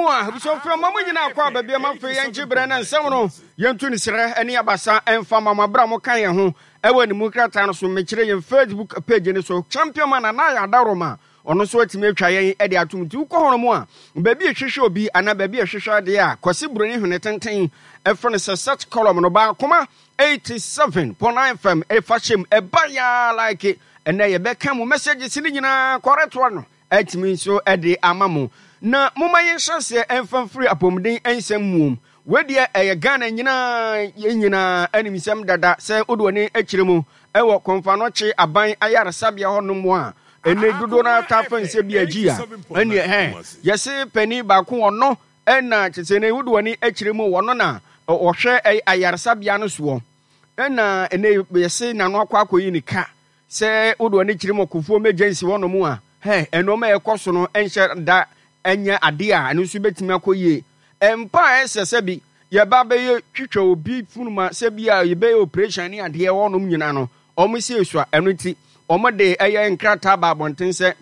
mu a, abusuafoɔ ma mo nyinaa kɔ aba biam afei yɛngye berɛ na nsɛm no yɛntu no serɛ ne abasa mfa ma mo aberɛ a moka yɛn ho ɛwɔ ne mu krataa no so mekyerɛ yɛn Facebook page no so Champion Man Nana Ayɛ Adaworoma ɔno nso atumi atwa yɛn de atom nti wokɔ hɔ no mu a baabi ɛhwehwɛ obi anaa baabi ɛhwehwɛ adeɛ a Kwasi Buroni Hwene Tenten ɛfrɛ no sɛ search column no baakoma 87.9 FM ɛfa hyɛm ɛba yaa like ɛnɛ yɛbɛka mu messages no nyinaa kɔrɛtoa no atumi nso de ama mo. Na momma yɛnhyɛ aseɛ mfa mfiri apɔmuden nsɛm muom. Wei deɛ ɛyɛ Ghana nyinaa yɛn nyinaa animsɛm dada sɛ wode w'ani akyerɛ mu wɔ Kɔmfanɔkye aban ayaresabea hɔ nom a ɛnɛ dodoɔ no ara taa fa nsɛ bi agyi a ɛneɛ hɛ yɛse panin baako ɔno ɛna kyɛ sɛ ɛnɛ wode w'ani akyerɛ mu ɔno na ɔhwɛ ayaresabea no soɔ ɛna ɛnɛ yɛse n'ano akɔ akɔyi ne ka Sɛ wode w'ani kyerɛ mu ɔkofoɔ emergency hɔ nom a, hɛ, nnoɔma a ɛkɔ so no nhyɛ da nyɛ adeɛ a ɛno nso bɛtumi akɔ yie. Mpa a ɛsɛ sɛ bi yɛba bɛyɛ twitwa obi funuma sɛ bi a yɛbɛyɛ operation ne adeɛ hɔ nom nyina no, wɔn si esua. Ɛno nti, wɔn de ɛyɛ nkrataa ba abɔnten sɛ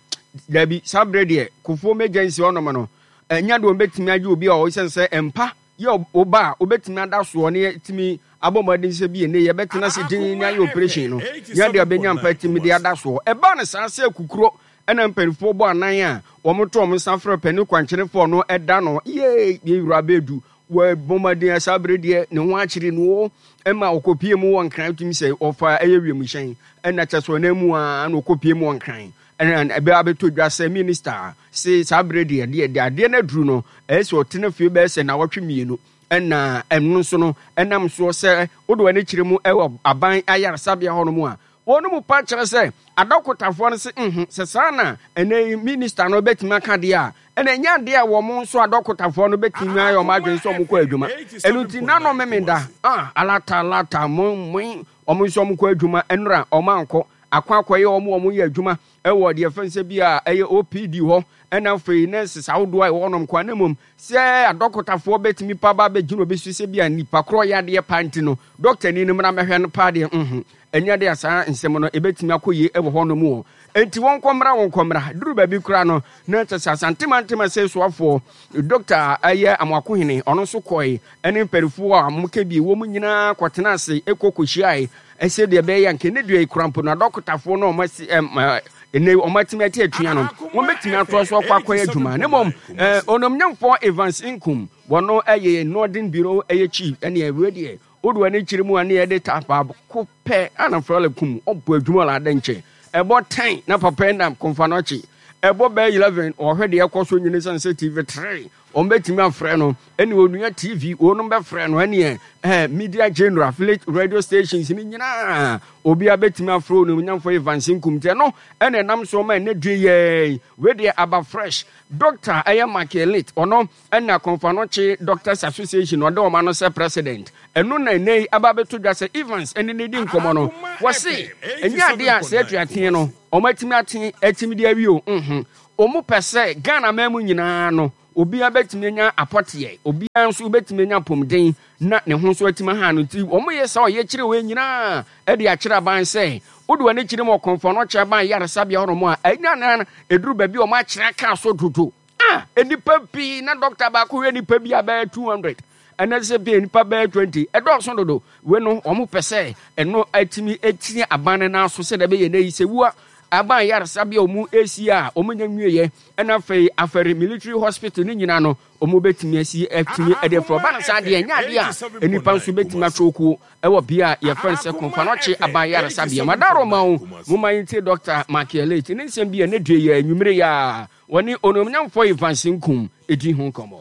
dabi, saa berɛ deɛ kofoɔ emergency hɔ nom no, ɛnyɛ deɛ wɔn bɛtumi agye obi a ɔwɔ sɛ mpa yɛ wo ba a wobɛtumi ada soɔ ne yɛtumi abɔ mmɔden sɛ bi ɛnɛ yɛbɛtena ase din ne ayɛ operation no nyɛ deɛ ɔbɛnya mpa tumi de ada soɔ. Ɛbaa no saa sɛ kukuro ɛna mpanimfoɔ bɔ anan a wɔn to wɔn nsa frɛ panin kwankyenefoɔ no ɛda no yee yɛ wura bɛdu wɔbɔ mmɔden saa bere deɛ ne ho akyere no o ɛma ɔkɔpie mu wɔ nkran tumi sɛ ɔfa ɛyɛ wiemhyɛn ɛna kyɛ sɛ ɔnan mu a na ɔkɔpie mu wɔ nkran Ɛna ɛbɛ abɛtɔ dwa sɛ minista se saa berɛ deɛ deɛ deɛ adeɛ no aduru no ɛyɛ sɛ ɔtena fie bɛyɛ sɛ nawɔtwe mmienu ɛna ɛno nso no ɛnam soɔ sɛ wode w'ani kyerɛ mu ɛwɔ aban ayaresabea hɔ nom a wɔn mu pa kyerɛ sɛ adɔkotafoɔ no se nho sɛ saa na ɛnɛ yi minista no bɛtumi aka deɛ a ɛna ɛnyɛ adeɛ a wɔn nso adɔkotafoɔ no bɛtumi ayɛ wɔn adwene sɛ wɔn kɔ adwuma ɛno nti nano memeda ah alata alata mo mo wɔn nso wɔn kɔ adwuma ɛnora wɔn ankɔ akɔ akɔyɛ wɔn a wɔyɛ adwuma wɔ deɛ yɛfrɛ no sɛ bi a ɛyɛ OPD hɔ ɛna afei nurses ahodoɔ a ɛwɔ hɔnom kwan na mmom sɛ adɔkotafoɔ bɛtumi pa ba bɛgyina obi so sɛ bi a nipa korɔ yɛ adeɛ pa nti no dɔktani no mmra mɛhwɛ no paa deɛ nho ɛnyɛ deɛ saa nsɛm no ɛbɛtumi akɔ yie wɔ hɔnom o enti wɔn kɔmmra wɔn kɔmmra duru baabi koraa no na kyɛ sɛ Asante mantam ase soafoɔ dɔkta ɛyɛ Amoakohene ɔno nso kɔe ɛne mpanimfoɔ a wɔka bi wɔn nyinaa kɔtena ase ɛkɔ kɔhyiae Sɛdeɛ ɛbɛyɛ a nka ɛnnɛ dua yi kora mpo no, adɔkotafoɔ no a wɔasi ɛm ɛ ɛnnɛ wɔatumi ate atua no, wɔbɛtumi atoa so akɔ akɔyɛ adwuma. Na mmom ɛ onomnyamfoɔ Evans Nkum, wɔno ɛyɛ Northern Bureau ɛyɛ chief, ɛne ɛwei deɛ wode w'ani kyerɛ mu a ne yɛde ta baako pɛ ana frɔle kum ɔbɔ adwuma la adɛ nkyɛ ɛbɔ 10 na papa nam kɔmfa no akyi ɛbɔ bɛyɛ 11 ɔhwɛ deɛ ɛkɔ so nyini sane sɛ TV 3 Wɔbɛtumi afrɛ no ɛne Onua TV, wɔnom bɛfrɛ no ɛneɛ eh, media general, affiliate radio stations ne nyinaa obiara bɛtumi afrɛ Onimnyamfoɔ Evans Nkum nti ɛno ɛna ɛnam so ma ɛnɛ due yɛi wei deɛ aba fresh. Doctor ɛyɛ Mark Elite ɔno ɛna Kɔmfanɔkye Doctors Association ɔde wɔn ano sɛ president ɛno na ɛnɛ yi aba abɛto dwa sɛ Evans ɛne ne di nkɔmmɔ no wɔse ɛnyɛ adeɛ a sɛ atuateɛ no wɔn atumi ate atumi de awie o nho Wɔn pɛ sɛ Ghana man mu nyinaa no obiara bɛtumi anya apɔteɛ, obiara nso bɛtumi anya apɔmuden na ne ho nso atumi aha no nti wɔn yɛ saa ɔyɛkyerɛ wei nyinaa de akyerɛ aban sɛ wode w'ani kyerɛ mu ɔkɔmfoɔ no ɔkyerɛ aban yaresabea hɔ nom a ɛnya na ɛduru baabi a wɔn akyerɛ aka so dodo a nnipa pii na dɔkta baako hwɛ nnipa bi a bɛyɛ 200 ɛnɛ sɛ bi nnipa bɛyɛ 20 ɛdɔɔso dodo wei no wɔn pɛ sɛ ɛno atumi atia aban no nan so sɛdeɛ ɛbɛyɛ na yi sɛ wua aban yaresabea a wɔn esi a wɔn nya nwieɛ ɛna afei afɛre military hospital ne nyinaa no wɔn bɛtumi asi atumi ɛde afiri ɔba no saa deɛ ɛnyɛ adeɛ a nnipa nso bɛtumi atwoko ɛwɔ bea a yɛfrɛ no sɛ kɔnfanɔkye aban yaresabea madaro ma wo mo ma yɛntie Dr. Makielate ne nsɛm bi a ne due yɛ anwummere yɛ a wɔne onuonyamfoɔ Evans Nkum ɛdi ho nkɔmmɔ.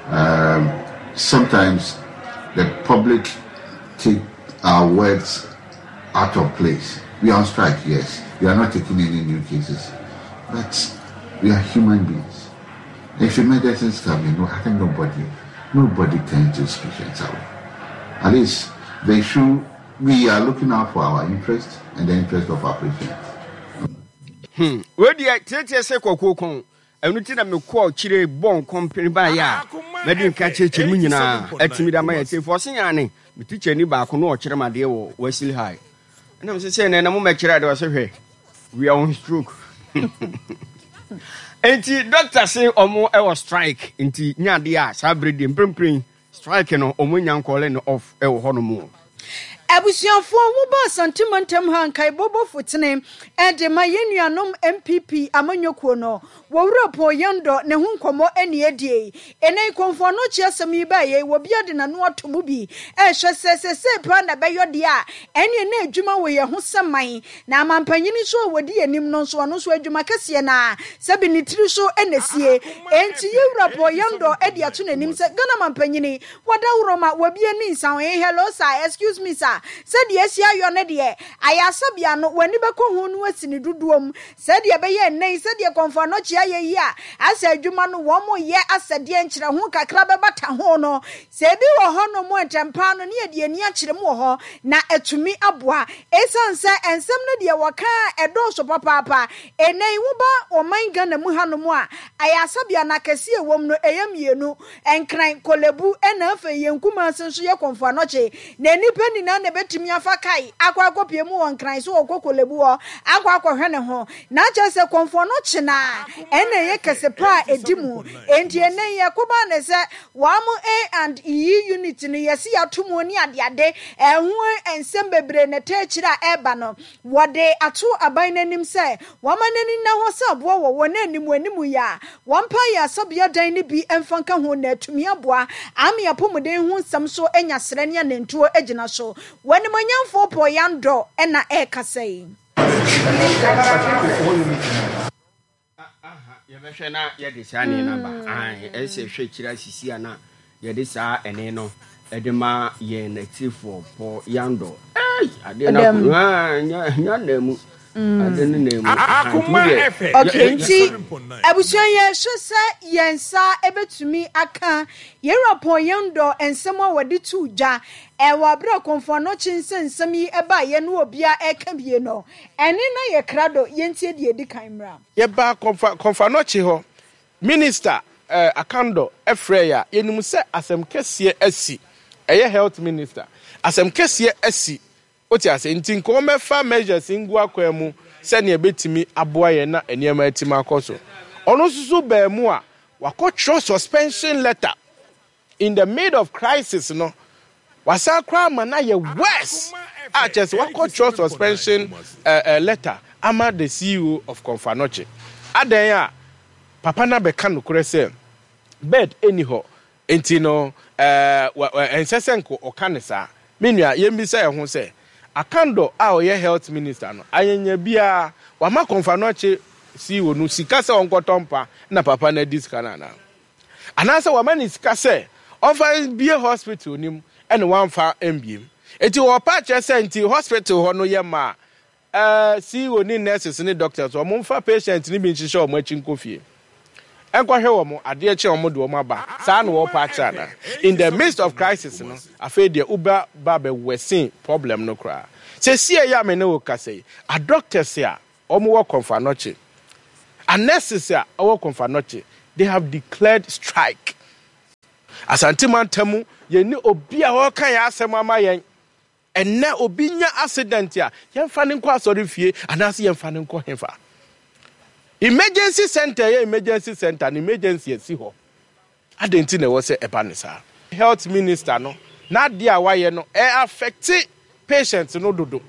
Um, sometimes the public take our words out of place. We are on strike, yes. We are not taking any new cases. But we are human beings. If emergencies come in, I think nobody, nobody turns these patients away. At least they should, we are looking out for our interest and the interest of our patients. Hmm. Wei deɛ tietie sɛ kɔkɔɔ kɔn Ɛno nti na mekɔɔ akyire bɔɔ nkɔmpene baeɛ a madi nka kyerɛkyerɛ mu nyinaa atumi de ama yɛn atiefoɔ. Ɔse aane, me tikyani baako na ɔkyerɛ me adeɛ wɔ Wesley High. Ɛna mese sɛ nɛ na momɛkyerɛ adeɛ ɔse hwɛ, we are on stroke. Enti doctor se ɔmo wɔ strike nti nyɛ adeɛ a saa bere deɛ mprempren strike no ɔmo nnya nkɔɔle no off wɔ hɔ nom o. Abusuafoɔ wo ba Asante mantam ha nkaebɔ bɔfo tene de ma yɛn nuanom NPP amanyɔkuo no. Wɔ wura Paul Yandɔ ne ho nkɔmmɔ ɛne adie yi. Ɛnɛ yi Kɔmfo Anokye asɛm yi baeɛ yi wɔbia de n'ano ato mu bi ɛrehwɛ sɛ sesei paa na ɛbɛyɔ deɛ a ɛneɛ na adwuma wɔ yɛn ho sɛ man na amanpanyini nso a wɔdi yɛn anim no nso ɔno nso adwuma kɛseɛ no ara sɛbi ne tiri so na ɛsie. Enti yɛ wura Paul Yandɔ de ato n'anim sɛ Ghana manpanyini Wɔdaworo ma wɔbie ne nsa ho Hello sir, excuse me sir Sɛdeɛ asi ayɔ no deɛ, ayarsa bea no W'ani bɛkɔ ho no asi ne dodoɔ mu Sɛdeɛ ɛbɛyɛ ɛnnɛ yi Sɛdeɛ Kɔmfo Anokye ayɛ yi a Asɛ adwuma no wɔn yɛ asɛdeɛ Nkyerɛho kakra bɛbata ho no Sɛ ebi wɔ hɔ nom a ntɛmpaa no Ne yɛde ani akyerɛ mu wɔ hɔ Na atumi aboa Esiane sɛ nsɛm no deɛ wɔka a ɛdɔɔso papaapa Ɛnnɛ yi woba ɔman Ghana mu hanom a Ayarsa bea no akɛseɛ a ɛwɔ mu no ɛyɛ mmienu Nkran, Korlebu ɛna afei yɛn Kumasi nso yɛ Komfo Anokye. Na nnipa nyinaa na ɛbɛtumi afa kae akɔ akɔpue mu wɔ Nkran sɛ ɔrekɔ Korlebu hɔ akɔ akɔhwɛ ne ho. Na kyerɛ sɛ Komfo Anokye no ara ɛna ɛyɛ kɛse pa a ɛdi mu. Enti ɛnnɛ yi ɛkɔbaa no sɛ wɔn A and E unit no yɛse yɛato mu ne adeade, ɛho nsɛm bebree na ɛtaa akyire a ɛreba no. Wɔde ato aban no anim sɛ wɔmma n'ani nna hɔ sɛ aboa wɔ wɔn anim anim yi a wɔmpa ayaresabea dan no bi mfa nka ho na atumi aboa ame apɔmuden ho nsɛm so anya serɛ ne anantuo agyina so. W'animuonyamfoɔ Paul Yandor na ɛrekasa yi. Aha, yɛbɛhwɛ na yɛde saa ɛne no aba. Ae, ɛsɛ sɛ yɛhwɛ akyiri asisi a na yɛde saa ɛne no ɛde ma yɛn atiefoɔ Paul Yandor. Ei, adeɛ no akɔ, ah, nya, nya na mu. Adeɛ no na mu. Aha, nti wo deɛ, Okay, nti abusua yɛhwɛ sɛ yɛn nsa ɛbɛtumi aka yɛn wura Paul Yandor nsɛm a wɔde too dwa ɛwɔ abere a Kɔmfo Anokye nsɛnsɛm yi ɛbaeɛ no obiara ɛka bie no. Ɛne na yɛ krado, yɛntie deɛ ɛdi kan mmra. Yɛbaa Kɔmfa Kɔmfanɔkye hɔ, Minister eh, Akandor frɛɛ yɛ a, yɛnim sɛ asɛm kɛseɛ asi, ɛyɛ Health Minister, asɛm kɛseɛ asi, wote aseɛ, nti nka wɔmmɛfa measures ngu akwan mu sɛdeɛ ɛbɛtumi aboa yɛn na nneɛma atumi akɔ so. Ɔno nso so baa mu a, wakɔtwerɛ suspension letter In the mid of crisis no, wasan koraa ama no ayɛ worse a kyerɛ sɛ wakɔtwerɛ suspension letter ama the CEO of Komfo Anokye. Adɛn a papa no abɛka nokorɛ sɛ bed nni hɔ nti no ɛnsɛ sɛ nka ɔka no saa. Me nua, yɛmmisa yɛn ho sɛ, Akandor a ɔyɛ health minister no, anyanya biara wama Komfo Anokye CEO no sika sɛ ɔnkɔtɔ mpa na papa no adi sika no anaa? Anaasɛ wama no sika sɛ ɔmfa mbue hospital no mu ɛna wamfa ambue mu. Nti ɔɔpa akyerɛ sɛ nti hospital hɔ no yɛ ma a CEO ne nurses ne doctors wɔn mfa patient no bi nhyehyɛ wɔn akyi nkɔ fie nkɔhwɛ wɔn, adeɛ kye a wɔn de wɔn aba. Saa na wɔɔpa akyerɛ anaa? In the midst of crisis no, afei deɛ woba ba bɛ worsen problem no koraa. Sesie yi a me ne wo kasa yi, adoctors a Wɔn wɔ Komfo Anokye. A nurses a ɛwɔ Komfo Anokye, they have declared strike. Asante mantam yɛn ni obi a ɔreka yɛn asɛm ama yɛn. Ɛnɛ obi nya accident a, yɛmfa no nkɔ asɔre fie anaasɛ yɛmfa no nkɔ hefa. Emergency center yɛ emergency center no emergency asi hɔ. Adɛn nti na ɛwɔ sɛ ɛba no saa? Health minister no n'adeɛ a wayɛ no ɛ affect patient no dodo.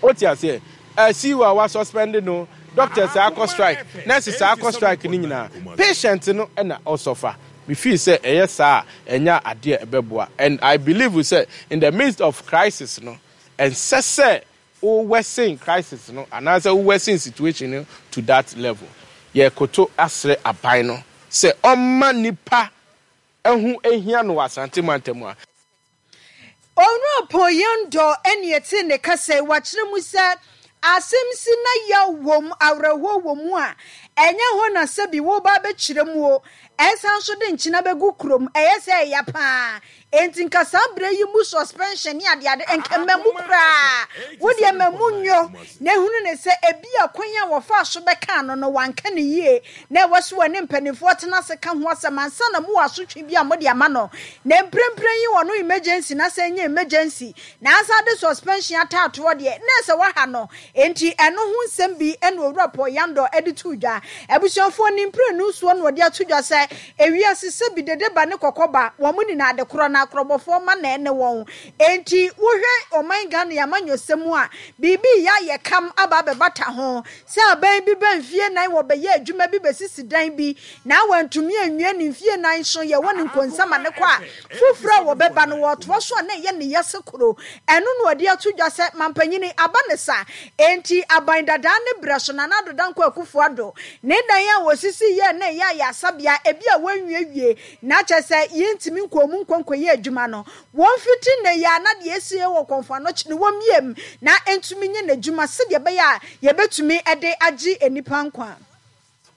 Wote aseɛ? Ɛ CEO a wa suspend no, doctors a akɔ strike, nurses a akɔ strike no nyinaa, patient no na ɔsɔfa. Me feel sɛ ɛyɛ saa a ɛnyɛ adeɛ a ɛbɛboa and I believe sɛ in the midst of crisis no ɛnsɛ sɛ Wo worsen crisis no anaasɛ wo worsen situation no to that level. Yɛrekoto asrɛ aban no sɛ ɔmma nnipa ho nhia no wɔ Asante mantam ha. Owura Paul Yandor ne yɛtee ne kasa yi, wakyerɛ mu sɛ asɛm si na yaw wom, awerɛhoɔ wɔ mu a, ɛnyɛ hɔ na sɛbi woreba abɛkyerɛ mu o, ɛsan nso de nkyena bɛgu kurom, ɛyɛ sɛ ɛya paa. Enti nka saa berɛ yi mu suspension ne adeade nka mma mu koraa. Wo deɛ mma mu nnwo na hunu no sɛ ebia kwan a wɔfaa so bɛkaa no no wanka no yie na ɛwɔ sɛ wɔne mpanimfoɔ tena ase ka ho asɛm ansa na mowɔ asotwe bi a mode ama no. Na mprempren yi ɔno emergency na sɛ ɛnyɛ emergency na asan de suspension ataatoɔ deɛ na ɛsɛ waha no. Enti ɛno ho nsɛm bi na Owura Paul Yandor de too dwa. Abusuafoɔ, ne mprenu soɔ na ɔde ato dwa sɛ, ewiase sɛbi dede ba ne kɔkɔ ba, wɔn nyinaa ade korɔ na akorɔbɔfoɔ mma na ɛne wɔn. Enti wohwɛ ɔman Ghana yi amanyɔsɛm mu a, biribi reyɛ ayɛ kam aba abɛbata ho. Sɛ aban bi ba mfie nan wɔbɛyɛ adwuma bi bɛsisi dan bi na wantumi anwie ne mfie nan so yɛwɔ no nkonsa ma no kɔ a, foforɔ a wɔbɛba no wɔtoa so a na ɛyɛ ne yase koro. Ɛno na ɔde ato dwa sɛ mampanyini aba ne sa. Enti aban dadaa ne berɛ so Nana Addo Dankwa Akufo Addo ne dan a wɔsisi yɛɛ na ɛyɛ ayaresabea ebi a wɔanwiewie na kyerɛ sɛ yɛntumi nkɔɔ mu nkɔ nkɔyɛ adwuma no Wɔmfiti nnɛ yi ara na deɛ ɛsi wɔ Kɔmfo Anokye no wɔmmie mu na ɛntumi nyɛ n'adwuma sɛdeɛ ɛbɛyɛ a yɛbɛtumi de agye nnipa nkwa.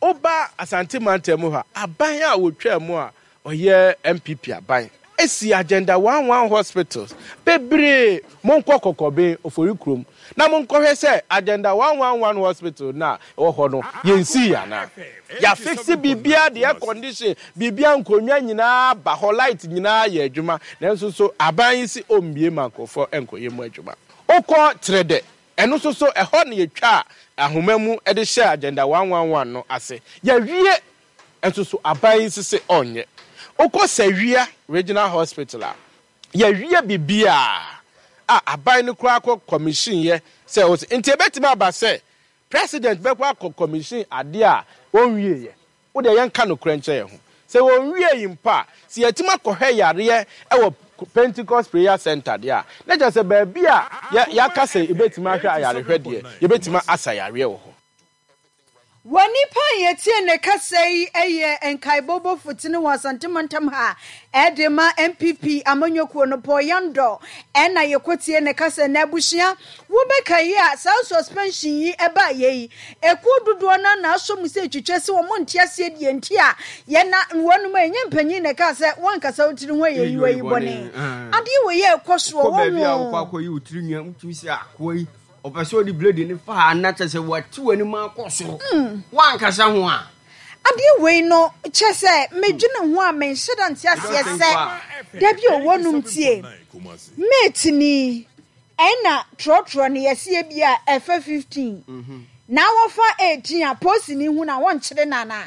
Woba Asante mantam mu hɔ a, aban a wɔtwaa mu a ɔyɛ NPP aban si Agenda One One Hospitals bebree. Monkɔ Kɔkɔben, Ofori kurom na monkɔhwɛ sɛ Agenda One One One Hospital no a ɛwɔ hɔ no yɛnsii anaa. Yɛafixe biribiara de air condition, biribiara nkonnwa nyinaa aba hɔ, light nyinaa yɛ adwuma nanso so aban yi se ɔmmue ma nkurɔfoɔ nkɔyɛ mu adwuma. Wokɔ Trɛdɛ, ɛno nso so ɛhɔ na yɛtwaa ahoma mu de hyɛɛ Agenda 111 no ase. Yɛawie nso so aban yi nso se ɔnyɛ. Wokɔ Sawia Regional Hospital a, yɛawie biribiara a aban no koraa kɔ commission yɛ sɛ ɔse nti ɛbɛtumi aba sɛ President bɛkɔ akɔ commission adeɛ a ɔnwieɛ. Wo deɛ yɛnka nokorɛ nkyerɛ yɛn ho. Sɛ ɔnwiee mpo a, sɛ yɛatumi akɔhwɛ yareɛ wɔ Pentecost Prayer Centre deɛ a, na kyerɛ sɛ baabi a yɛ yɛaka sɛ yɛbɛtumi ahwɛ ayarehwɛ deɛ, yɛbɛtumi asa yareɛ wɔ hɔ. Wɔ nipa a yɛtie ne kasa yi yɛ nkaebɔ bɔfotene wɔ Asante mantam ha de ma NPP amanyɔkuo no, Paul Yandor na yɛkɔtie ne kasa. Na abusua, wobɛkae a saa suspension yi baeɛ yi, ekuo dodoɔ no ara na asɔ mu sɛ ɛtwitwa sɛ wɔn nte aseɛ deɛ nti a yɛn na wɔnom a ɛnyɛ mpanyin na ɛkaa sɛ wɔankasa wo tiri ho a yɛyi wayi bɔne. Adeɛ wei a ɛkɔ soɔ Wokɔ baabi a wɔho. wokɔ akɔyi wo tiri nwa, wotumi sɛ akoa yi Ɔpɛ sɛ ɔde blade no fa ha na kyerɛ sɛ wate w'anim akɔ soro. Woankasa ho a. Adeɛ wei no kyerɛ sɛ medwene ho a menhyɛ da nte aseɛ sɛ da bi ɔwɔ nom tie mate ni ɛna trɔtrɔ no yɛse ebi a ɛfa 15 na wɔfa 18 a posini hu na wɔnkyere no anaa?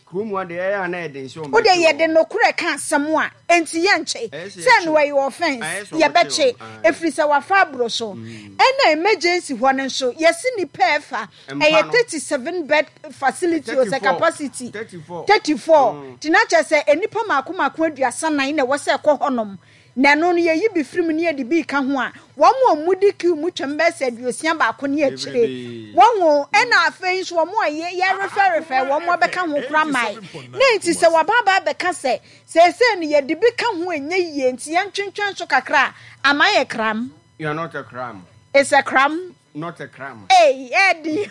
Kurom ha deɛ ɛyɛ a na ɛyɛ den sɛ wɔbɛkye Wo deɛ yɛde wɔn. nokorɛ ka asɛm a, enti yɛnkye? Ɛyɛ sɛ Sɛ yɛkye no wɔn. ɛyɛ offence, Ɛyɛ sɛ wɔkye yɛbɛkye, wɔn, ae. ɛfiri sɛ wafa aboro so. Ɛna emergency hɔ no nso, yɛse nnipa ɛfa, Mpa ɛyɛ no. 37 bed facility o, sɛ 34. capacity, 34. 34, nti na kyerɛ sɛ nnipa mmaako mmaako 34 na ɛwɔ sɛ ɛkɔ hɔnom. Na ɛno no, yɛyi bi firi mu na yɛde bi reka ho a, wɔn a wɔdi queue mu twam bɛyɛ sɛ 61 ne akyire. Wahu? Ɛna afei nso wɔn a yɛ, yɛrefɛrefɛ wɔn abɛka ho koraa mmae. Na enti sɛ wɔaba aba abɛka sɛ, seesei no yɛde bi ka ho a ɛnyɛ yie, nti yɛntwentwɛn so kakra a, ama ayɛ kram. You are not a cram. It's a cram. Not a crime. Ei, ɛdi.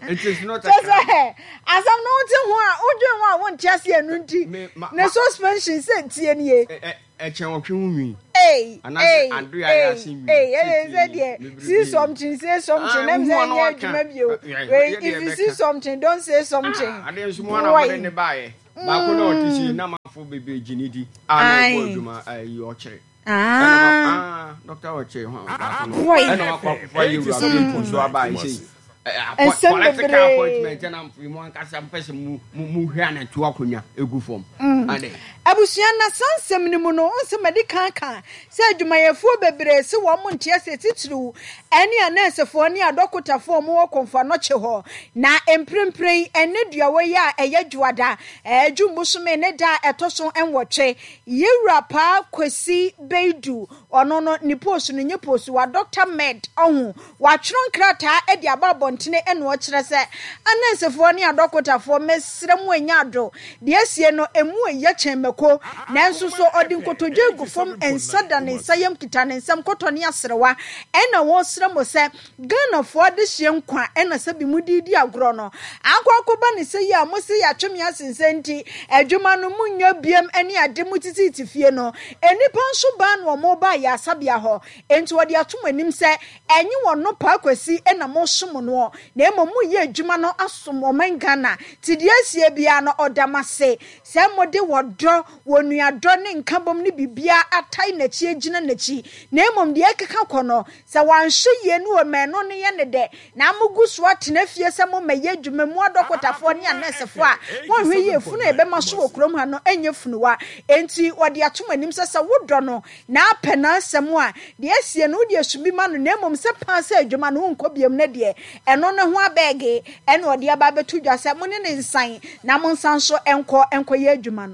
It is not a Kyɛ crime. sɛ asɛm no wote ho a wodwen ho a wonte aseɛ ɛno nti Me- ma- ne ma- suspension sɛ tie nie. Ɛ- ɛ- Ɛkyɛn ɔtwe ho nwi. Ei, Anaasɛ ei, ado a yɛ ase ei, nwi. ei, Sɛ ɛyɛ tie sɛ nie. deɛ Bebrebe. see something say something Ah, na wohu sɛ a na ɛnyɛ waka. adwuma bio. Ɛ- ɛ- Wei, yɛ deɛ if you see ɛbɛka. something don't say something. Ah, adeɛ nso mo ana mode Boy. ne baeɛ. Baako na ɔte sie na manfo bebree gye ne di. A na ɔbɔ Aye. adwuma ayi ɔkyere. Ah. Dɔkta ɔkyere ho baako no. Boy. Ɛna wakɔ akɔfa yɛ wura bi nso aba yi sei. Nsɛm Political bebree. appointment ɛna mo ankasa mpɛ sɛ mo mo hwɛ anatu akonnwa egu fam. Ade. Abusua na saa nsɛm no mu no, wohu sɛ madi kan aka sɛ adwumayɛfoɔ bebree se wɔn nte aseɛ titiriw ɛne anɛɛsefoɔ ne adɔkotafoɔ a wɔwɔ Komfo Anokye hɔ. Na mprempren yi, ɛnnɛ duawa yi a ɛyɛ Dwoada, June bosome ne da a ɛtɔ so nwɔtwe, Yewura Paa Kwesi Beidu, ɔno no ne post no nyɛ post, wa Doctor Med, ɔho, watwerɛ nkrataa de aba abɔntene ɛna ɔkyerɛ sɛ, anɛnsefoɔ ne adɔkotafoɔ mesrɛ mo ɛnyɛ ado, deɛ asie no ɛmu ɛyɛ kyɛn mako, nanso so ɔde nkotodwe gu fam, nsa da ne nsa yam kita ne nsam kɔtɔ ne aserewa ɛna ɔresrɛ mo sɛ Ghanafoɔ adehyeɛ nkwa na sɛbi mode redi agorɔ no akɔ akɔba ne sɛ yi a mose yɛatwe me asensɛ nti adwuma no monyɛ biam ne ade motititi fie no nnipa nso baa na wɔn baeɛ. ayaresabea hɔ. Enti ɔde ato mo anim sɛ ɛnye wɔn no Paa Kwasi na mosom noɔ na mmom moreyɛ adwuma no asom ɔman Ghana. Nti deɛ asie biara no ɔda mo ase sɛ mode ɔdɔ, onuadɔ ne nkabom ne biribiara atae n'akyi agyina n'akyi. Na mmom deɛ ɛkeka kɔ no, sɛ wanhwɛ yie ne ɔma ɛno no yɛ no dɛ na mogu so atena fie sɛ mommɛyɛ adwuma mu adɔkotafoɔ ne anɛɛsefoɔ a, monhwɛ yie, funu a yɛbɛma so wɔ kurom ha no nyɛ funuwa. Enti wɔde ato mo anim sɛ sɛ wodɔ no na apɛ n'asɛm a, deɛ asie no wode asu bi ma no, na mmom sɛ paa sɛ adwuma no wonkɔ biom no deɛ, ɛno no ho abɛɛge na ɔde aba abɛto dwa sɛ mo ne no nsan na monsan nso nkɔ nkɔyɛ adwuma no.